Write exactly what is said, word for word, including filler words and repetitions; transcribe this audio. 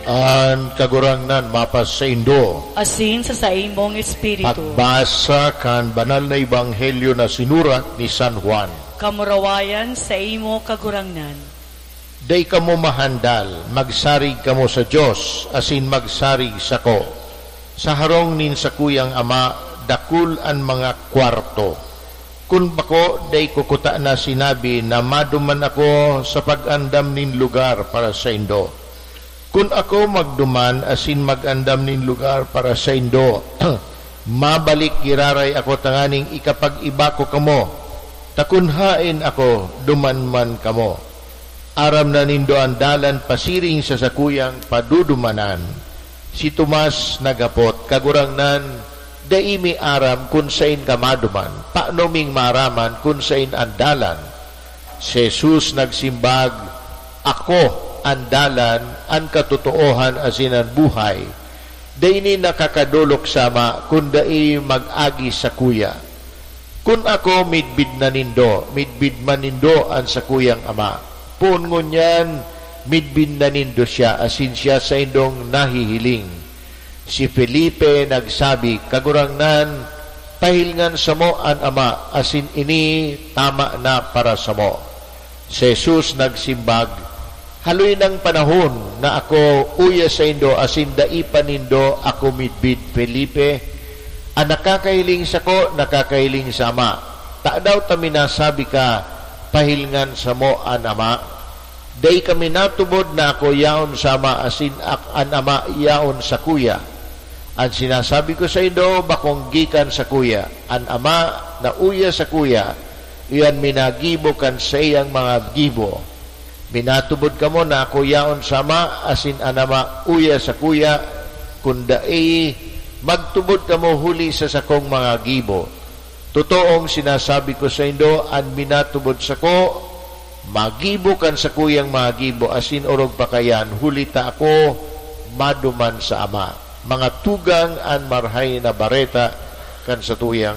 An Kagurangnan mapasaindo. Asin sa saimong espiritu. Pagbasa kan Banal na Ebanghelyo na sinurat ni San Juan. Kamurawayan saimo, Kagurangnan. Dai kamo mahandal, magsarig kamo sa Dios, asin magsarig sako. Sa harong nin sakuyang Ama, dakul an mga kwarto. Kun bako, dai ko kutana sinabi na maduman ako sa pag-andam nin lugar para saindo. Kun ako magduman asin mag-andam nin lugar para saindo, mabalik giraray ako tanganing ikapag-iba ko kamo, ta kun haen ako, duman man kamo. Aram na nindo an dalan pasiring sa sakuyang padudumanan. Si Tomas naghapot, "Kagurangnan, dai mi aram kun saen ka maduman. Paano ming maaraman kun saen an dalan?" Si Jesus nagsimbag, "Ako an dalan, an katotoohan asin an buhay. Dai nin nakakadolok sa Ama kun dai mag-agi sakuya. Kun ako midbid na nindo, midbid man nindo an sakuyang Ama. Poon ngunyan, midbid na nindo siya, asin siya saindong nahihiling." Si Felipe nagsabi, "Kagurangnan, pahilngan samo an Ama, asin ini tama na para samo." Si Jesus nagsimbag, "Haloy nang panahon na ako uya saindo asin dai pa nindo ako midbid, Felipe. An nakakahiling sako, nakakahiling sa Ama. Tadaw ta minasabi ka, 'Pahilngan samo an Ama'? Dai kami natubod na ako yaon sa Ama asin ak-, an Ama yaon sakuya. An sinasabi ko saindo, bakong gikan sakuya. An Ama na uya sakuya, iyan minagibo kan saiyang mga gibo. Minatubod kamo na ako yaon sa Ama, asin an Ama uya sakuya. Kun dai, magtubod kamo huli sa sakong mga gibo. Totoong sinasabi ko saindo, an minatubod sako, magibo kan sakuyang mga gibo, asin orog pa kaiyan, huli ta ako maduman sa Ama." Mga tugang, an Marahay na Bareta kan satuyang